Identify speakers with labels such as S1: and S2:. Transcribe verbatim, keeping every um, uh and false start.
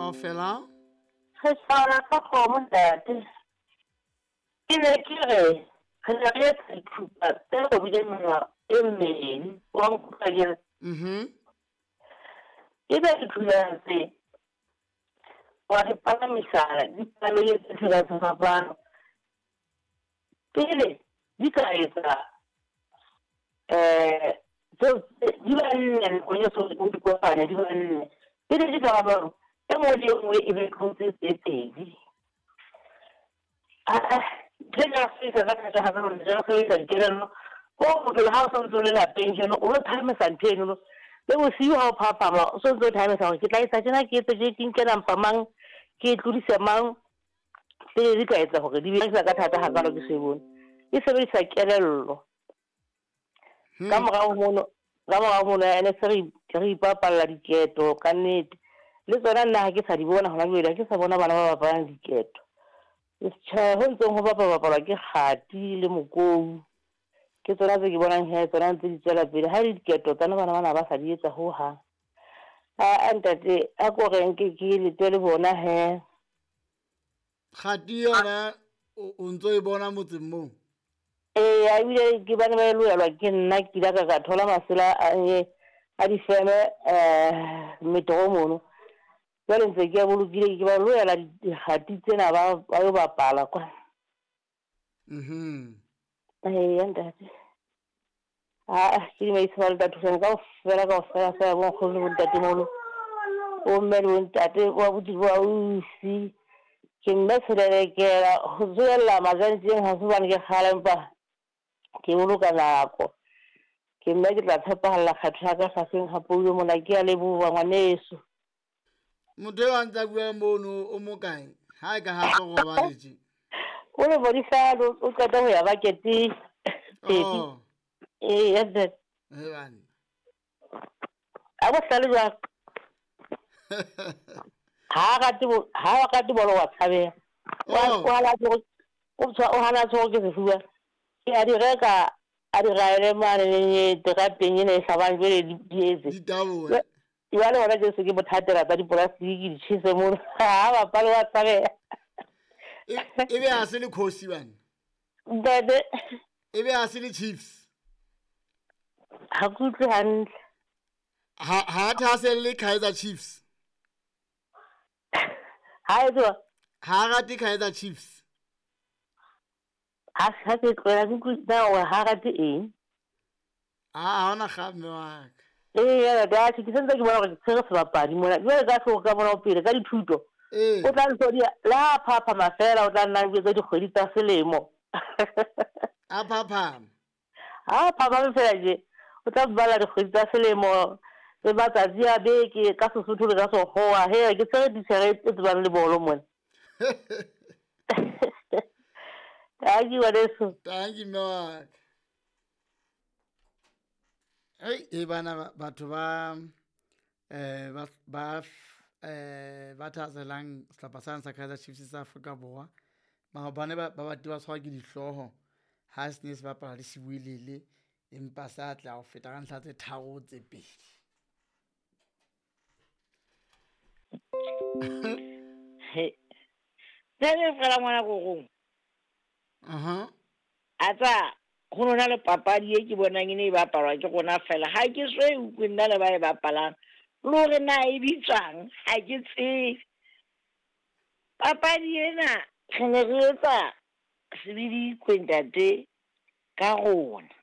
S1: Kaofela.
S2: Re sala ka kgomo ntate. Ke ne ke re re ne re etsa dithupa tse robileng menwana e mmedi, wa nkutlwa akere?
S1: Mhm.
S2: Ebe dithunyana tse wa di palamisana, di palamile tse tsela sefapano. Pele di ka etsa eh tseo di ba nne nakong e so o di kopanya di ba nne. Pele di ka ba jwalo, e nngwe le e nngwe e be tlotse tse pedi. Ah, ntho ena ya ho sebedisa ka thata hape hore re sebedisa dikelello ko bophelo ha o sontso o le lapeng jeno o lo phahamisa ntho enono. Le bosiu ha o phaphama o sontso o phahamisa hore ke tla etsa tjena, ke etse tje, ke nke nampa mang, ke e tlodise mang. Pele di ka etsa hore di be ka thata hakalo ke so e bone. E sebedisa kelello. Ka morao mono, ka morao mono ene se re re ipapalla diketo ka nnete. Le tsona nna ha ke sa di bona hona jwale, ha ke sa bona bana ba bapalang diketo. Tjhe, ho ntseng ho bapalwa bapalwa ke kgati le mokou. Ke tsona tse ke bonang he tsona ntse di tswela pele. Ha e le diketo tsona bana bana ba sa di etsa hohang. Ah ntate, a ko re nke ke lete le bona he.
S1: Kgati yona o ntso e bona motseng moo?
S2: Ee, ebile ke bane ba e loelwa ke nna ke ile ka ka thola masela a a difeme eh metro mono. Jwale ntse ke a bolokile ke ba loela dikgati tsena ba ba yo bapala kwa.
S1: Mhm.
S2: Eya ntate. Ah, ke dumedisa ba le thusang kaofela kaofela fela bo nkgono le bo ntatemoholo. Bo mme le bo ntate, bo abuti bo ausi. Ke mme Selelekela ho tsohella majantjeng ha se hobane ke kgale empa ke boloka nako. Ke mme ke tla tshepahalla kgetho ya ka hlafeng ha poulo mona. Ke a leboha ngwaneso.
S1: Motho eo a ntsa bua mono o mo kae? Ha e ka ha tlo robale tje.
S2: O le bodisano o qeta ho ya baketeng.
S1: Oh.
S2: Ee, ntate.
S1: He bana.
S2: A bohlale jwang? Ha rate bo ha rate bolo wa tshabeha.
S1: Oh.
S2: O hana o tshwa o hana tshwaro ke sefuba. Ke a di reka a di raele mane terateng ena e hlabang jwale di di etse.
S1: Ditabole.
S2: Jwale hona tje se ke bothatela tsa dipolastiki di tjhese mono. Ha bapale wa tshabeha.
S1: E e be ha se le khosi bana.
S2: Ntate.
S1: E be ha se le Chiefs.
S2: Ha ke utlwe hantle.
S1: Ha ha thahaselle Kaizer Chiefs.
S2: Ha e tswa.
S1: Ha rate Kaizer Chiefs.
S2: Ha ha ke tlohela ke utlwe na hore ha rate eng.
S1: Ah, ha hona kgang mme wa ka.
S2: Ee, ntate, ke sentse ke bona hore ke tshwere sebapadi mona. Jwale ka hlooho ka mona ho pele ka dithuto.
S1: Ee.
S2: O tla ntso di le ha phaphama fela o tla nna jwetsa dikgwedi tsa selemo.
S1: A phaphama.
S2: Ha phaphama fela tje, o tla bala dikgwedi tsa selemo le matsatsi a beke ka Sesotho le ka Sekgowa. He, ke tshwere titjhere e tsebang le bolo mona. Tanki ngwaneso.
S1: Tanki mme wa ka. Hei, e bana batho ba eh ba ba eh ba thahasellang sehlopha sane sa Kaizer Chiefs sa Afrika Borwa. Maobane ba ba bate ba tshwarwa ke dihlooho ha se ne se bapala le Sibuelele empa sa atleha ho feta ka ntlha tse tharo tse pedi.
S3: He. Tsebe fela ngwana korong.
S1: Aha.
S3: A tsa ho nona le papadi e ke bonang e ne e bapalwa ke rona fela. Ha ke so e utlwe nna le ba e bapalang. Le hore na e bitswang ha ke tsebe. Papadi ena re ne re etsa sebidikwe ntate ka rona.